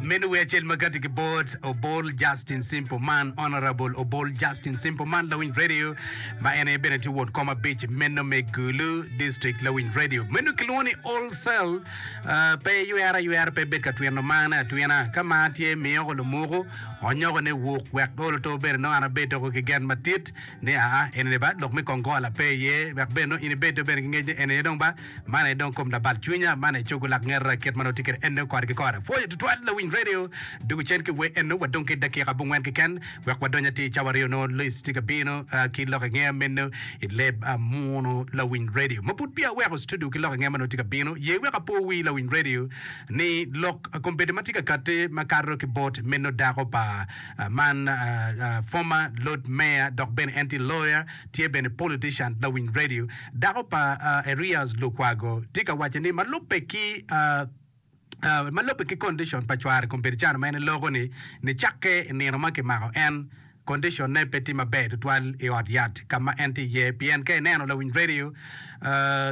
Meno wer acel ma gati ki bot Obol Justin Simple Man, Honourable Obol Justin Simple Man, Lawiny Radio, ma en aye bene tye won kom abic meno me Gulu District, Lawiny Radio. Meno kilwongo ni Old Cell, uh, pe ywero aywera, pe bed ka twino marne atwina. Ka mar tye, miyoko lumuku, onyoko ne wuk, wek olo to bene nongo an abed doko ki gen matit ni aa, enini ba lok me kongola pe iye, wek bene nongo in ibed dong bene ki ngec ni eni aye dong ba Man aye dong kom labal cwinya, man aye cogo lak ngeta kit ma nongo tye kwede eno kore ki kore. Pwoyo tutwal lawiny radio dugo cen ki wer eno wadong ki dakika abongwen keken wek wadony atir cawa aryo nongo Lois tye ka bino ki lok angeya meno i leb munu lawiny radio. Ma pud peya aweko studio ki lok angeya ma nongo tye ka bino ye wek apo wi lawiny radio ni lok kombeddi ma tye ka kati ma kato ki bot meno dako pa man former Lord Mayor dok bene en tye lawyer tye bene politician lawiny radio. Dako pa Erias Lukwago tye ka waco ni ma lubbe ki ma lubbe ki condition pa cware kombeddi cano ma en eloko ni nicakke i nino ma kimako en condition ne pe tye maber tutwal i ot yat ka ma en tye iye pien ka ineno lawiny radio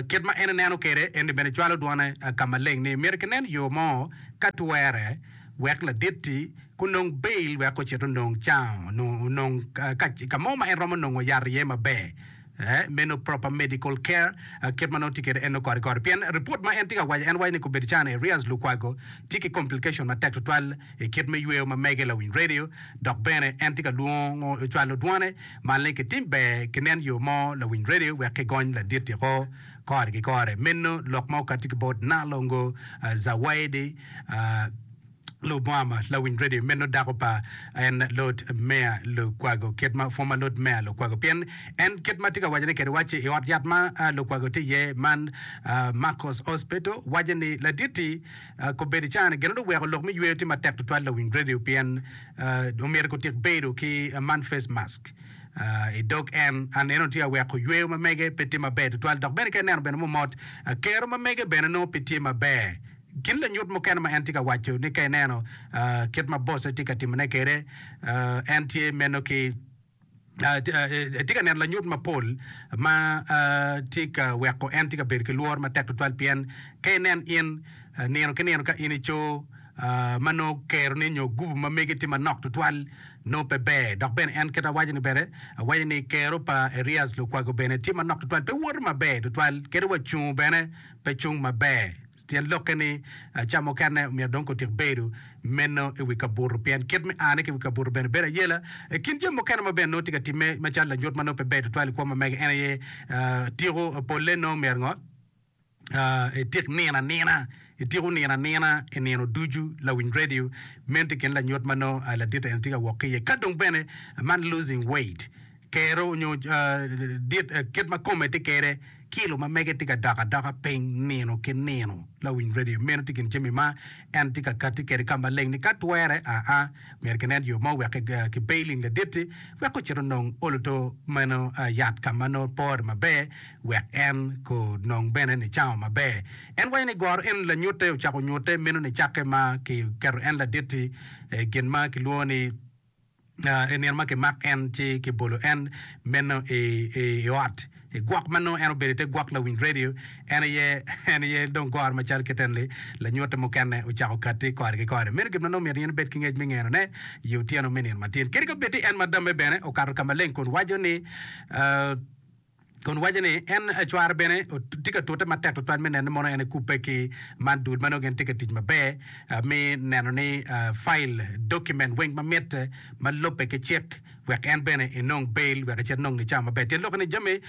kit ma en eneno kwede eni bene cwalo dwone ka maleng ni myero kinen yo mo ka twere wek ladit-ti gunong bail wek ocit onong cango onong ka mo ma en romo nongo yat iye maber. Meno proper medical care kit ma nongo tye kwede en nongo kore kore pien report ma en tye ka waco en waco ni kobedo calo ni Erias Lukwago tye ki complication matek tutwal i kit me yweyo ma mege lawiny radio dok bene en tye ka lwongo cwalo dwone malo ni kitim ber kinen yo mo lawiny radio wek kigony ladit tiko kore ki kore meno lok ma okati ki bot Nalongo Zawaidi Lubwama lawiny radio meno dako pa en Lord Mayor Lukwago kit ma former Lord Mayor Lukwago pien en kit ma tye ka wacone kede wacci i ot yat ma Lukwago tye iye man Marcos Hospital waco ni laditi kobedo icane gin dong oweko lok me yweyo tye matek tutwal lawiny radio pien omyero kutik bedo ki man face mask i dog en an eno tye ka weko yweyo ma mege pe tye maber tutwal dok bene ka ineno bene momot kero ma mege bene nongo pe tye maber. Gin lanyut mukene ma en tye ka waco ni ka ineno kit ma bosse tye ka timone kwede, en tye meno ki etye ka neno lanyut mapol ma tye ka weko en tye ka bedo ki lworo matek tutwal pien ka inen in nino ki nino ka in ico ma nongo keroni nyo gubu ma megi tye manok tutwal nongo pe ber dok bene en kit awaco ni bene awaco ni kero pa Erias Lukwago bene tye manok tutwal pe woto maber tutwal kadi wa cungo bene pe cung maber. Tyen lokke ni, ca mukene omyero dong otik bedo meno i wi kabuto pien kit me ane ki i wi kabuto bene bedo ayela. I kin jami mukene ma bene nongo tye ka timme macalo lanyut ma nongo pe ber tutwal i kwo ma mege en aye tiko polle nongo myero ngo itik nino anina, itiko nino anina i nino ducu lawiny radio meno tye i kin lanyut ma nongo ladit eni tye ka wok ki iye. Ka dong bene man losing weight kero nyo dit kit ma kome tye kede kilo ma mege tye ka dok adoka piny nino ki nino. Lawiny radio meno tye kin jami ma en tye ka kati kwede ka maleng ni ka twere aa myero kinen yo mo wek ki bailing ladit-ti wek ocit onong oloto meno yat ka ma nongo pore maber wek en ko nong bene nicango maber. En waco ni goro eno lanyute ocako nyute meno nicakke ma ki keto en ladit-ti gin ma kilwongo ni I nino ma kimak en ci kibolo en meno i ot i gwok ma nongo en obedo i te gwok lawiny redio. En aye en aye dong goro macalo kit eni lanyute mukene ocako katti kore ki kore. Meno gin ma nongo myero in ibed ki ngec me ngenone i otyeno me nino matin. Kadi ka bed ni en ma damme bene okato ka maleng kun waco ni kun waco ni en cware bene tye ka tute matek tutwal me neno ni mono en ekubbe ki man dul ma nongo gin tye ka tic maber me neno ni fail document weng ma mitte ma lubbe ki cik wek en bene enong bail wek ecit enong nicawa maber. Tyen lok ni jami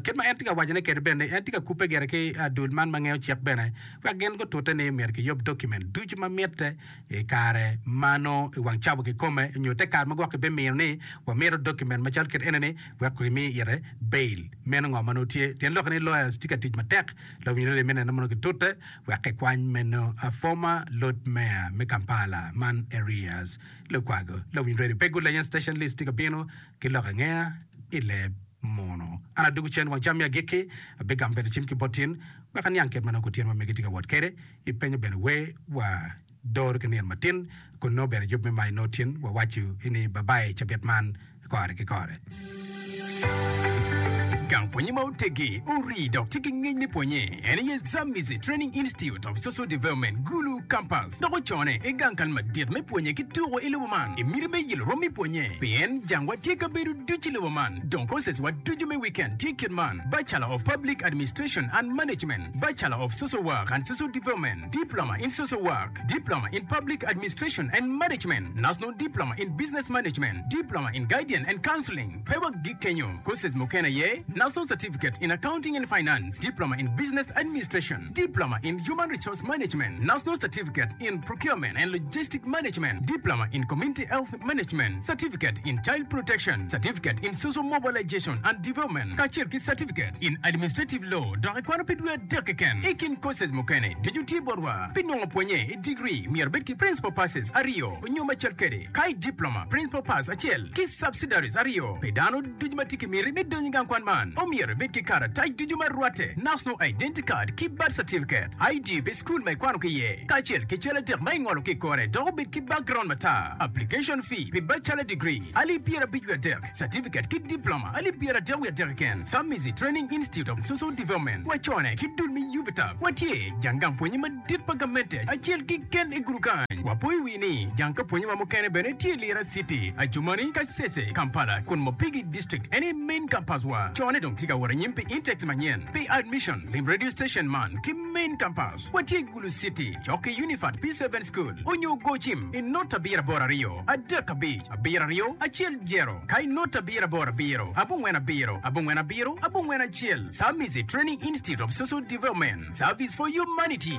kit ma en tye ka wacone kwede bene en tye ka kubbe gire ki dul man ma ngeyo cik bene wek gin gutute ni myero kiyub document ducu ma mitte I kare ma nongo i wang cawa kikome nyo te kare ma gwok kibimiyo ni wamito document macalo kit eni ni wek kimi ite bail meno ngo ma nongo tye tyen lokke ni lawyers tye ka tic matek lawiny radio me neno mono gitute wek kikwany meno former Lord Mayor me Kampala man Erias Lukwago lawiny radio pe gulenya station list tye ka bino ki lok angeya i leb muno. An adwogo cen wang cam me agikki abigamo bene cim ki bot tin wek aniang kit ma nongo kutyeno ma megi tye ka wot kwede. Ipenyo bene wer wa doro ki nino matin kun nongo bene yub me mayo nongo tin wa waco ni babai cabit man kore ki kore. Gang pwonye ma oteggi, orii dok tye ki ngec me pwonye en aye Zambezi Training Institute of Social Development, Gulu Campus, dok ocone i gang kal madit me pwonye ki tuko i lobo man i miti me yelo rwom me pwonye. Pien jangwa tye kabedo ducu i lobo man, dong courses wa ducu me weekend tye kit man, Bachelor of Public Administration and Management, Bachelor of Social Work and Social Development, Diploma in Social Work, Diploma in Public Administration and Management, National Diploma in Business Management, Diploma in Guidance and Counseling. Pe wagik kenyo, courses mukene aye, National Certificate in Accounting and Finance, Diploma in Business Administration, Diploma in Human Resource Management, National Certificate in Procurement and Logistic Management, Diploma in Community Health Management, Certificate in Child Protection, Certificate in Social Mobilization and Development, kacel ki Certificate in Administrative Law dok ikwano pi dwe adek keken. I kin courses mukene ducu tye botwa. Pi nongo pwonye i digri, myero ibed ki Principal Passes aryo nyo macel kwede. Ka i diploma, Principal Pass acel ki Subsidiaries aryo. Pi dano ducu ma tye ki miti me donyo i gang kwan man, omyero ibed ki karatac ducu ma rwatte, National Identity Card ki Birth Certificate, ID pi cukul ma ikwano ki iye, kacel ki cal adek ma ingolo ki i kore dok obed ki background matar. Application fee pi Bachelor Degree, alip 53, Certificate ki Diploma, alip 33 keken. Samizi Training Institute of Social Development, wacone ki dul me UVTAB, watye jang gang pwonye madit pa gamente acel keken i gulu kany. Wapoyo wi ni jang ka pwonyewa mukene bene tye i Lira City, Adjumani, Kasese, Kampala, kun Mopigi District en aye main campus wa. Cone dong tye ka wot anyim pi intakes manyen. Pi admission, lim radio station man ki main campus. Watye i Gulu City, cok ki Unifat P7 School, onyo go cim i not abiro aboro aryo, adek abic, abiro aryo, acel jero, ka i not abiro aboro abiro, abongwen abiro, abongwen abiro, abongwen acel. Samizi Training Institute of Social Development, Service for Humanity.